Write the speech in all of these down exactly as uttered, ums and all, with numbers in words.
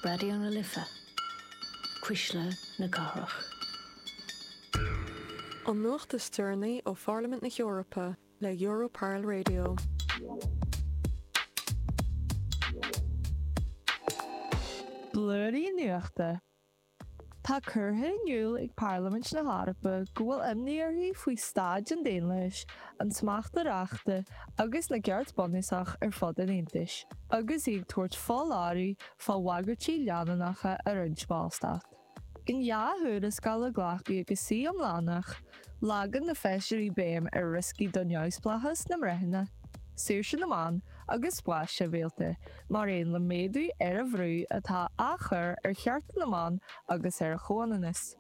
Raidió na Life, Cuisle na Cathrach. An nuacht is deireanaí ó Pharlaimint na hEorpa le Europarl Radio. Blúirí Nuachta. Tá curtha in iúl ag Parlaimint na hEorpa go bhfuil imní uirthi faoi staid an daonlathais, an smachta reachta agus na gceart bunúsach ar fud an Aontais, agus í ag tabhairt foláireamh fá bhagairtí leanúnacha i roinnt ballstát. In dhá thuarascáil a glacadh ag a suí iomlánach, leagann na feisirí béim ar rioscaí do neamhspleáchas na mbreithiúna, saoirse na meán agus spás sibhialta, mar aon le méadú ar an bhrú atá á chur ar chearta na mban agus ar a chomhionannas.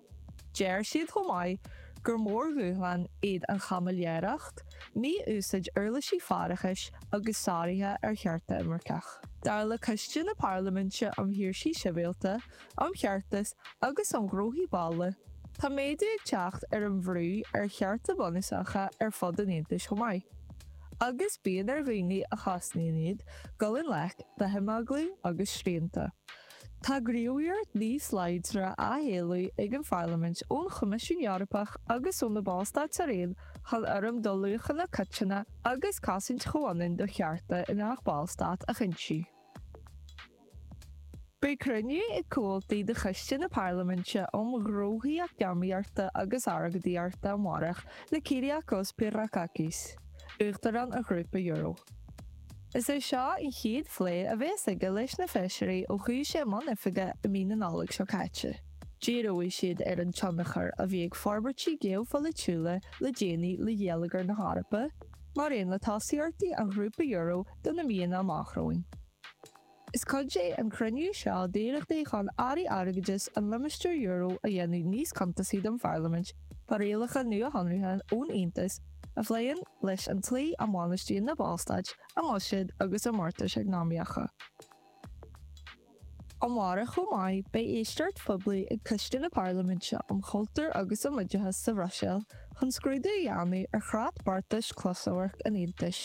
Deir siad chomh maith gur mórdhúshlán iad an chaimiléireacht, mí-úsáid uirlisí faireachais agus sáruithe ar chearta imirceach. Dar le Coiste na Parlaiminte um Shaoirsí Sibhialta, um Cheartas agus um Ghnóthaí Baile, tá méadú ag teacht ar an bhrú ar chearta bunúsacha ar fud an Aontais chomh maith, agus bíonn ar dhaoine a chosnaíonn iad dul i ngleic le himeaglú agus srianta. Tá gníomhaíocht níos láidre á héileamh ag an Pharlaimint ón Choimisiún Eorpach agus ó na Ballstáit araon chun urraim do luachanna coiteanna agus cosaint chomhionann do chearta i ngach Ballstát a chinntiú. Beidh cruinniú ag comhaltaí de Choiste na Parlaiminte um Ghnóthaí Eacnamaíochta agus Airgeadaíochta amárach le Kyriakos Pierrakakis, Uachtarán an Ghrúpa Euro. Is é seo an chéad phlé a bheas aige leis na feisirí ó chuaigh sé i mbun oifige i mí na Nollag seo caite. Díreoidh siad ar an tionchar a bhí ag forbairtí geopholaitiúla le déanaí le geilleagar na hEorpa, mar aon le tosaíochtaí an Ghrúpa Euro do na míonna amach romhainn. Is cuid é an cruinniú seo d'iarrachtaí chun airí airgeadais an limistéir euro a dhéanamh níos cuntasaí don Pharlaimint fá rialacha nuashonraithe ón Aontas a phléann leis an tslí a mbainistíonn na Ballstáit a mbuiséid agus a mbeartais eacnamaíocha. Amárach chomh maith, beidh éisteacht phoiblí ag Coiste na Parlaiminte um Chultúr agus um Oideachas sa Bhruiséil chun scrúdú a dhéanamh ar chreat beartais closamhairc an Aontais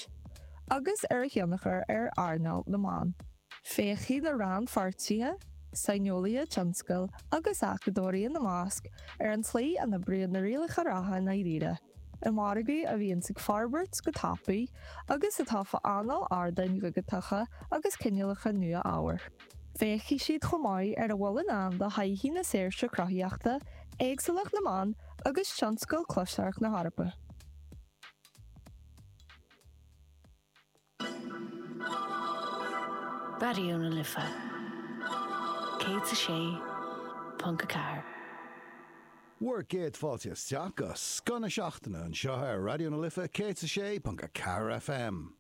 agus ar a thionchar ar earnáil na meán. Féachfaidh na rannpháirtithe, saineolaithe tionscail agus acadóirí ina measc, ar an tslí a n-oibríonn na rialacha reatha i ndáiríre, i margadh a bhíonns ag forbairt go tapaidh agus atá fá anáil ardáin dhigiteacha agus cineálacha nua ábhair. Féachfaidh siad chomh maith ar a bhfuil i ndán do thodhchaí na saoirse cruthaíochta, éagsúlacht na meán agus tionscal closamhairc na hEorpa. Raidió na Life céad is a sé ponc a ceathair. Bhur gcéad fáilte isteach go Scoth na Seachtaine anseo ar Raidió na Life céad is a sé ponc a ceathair FM.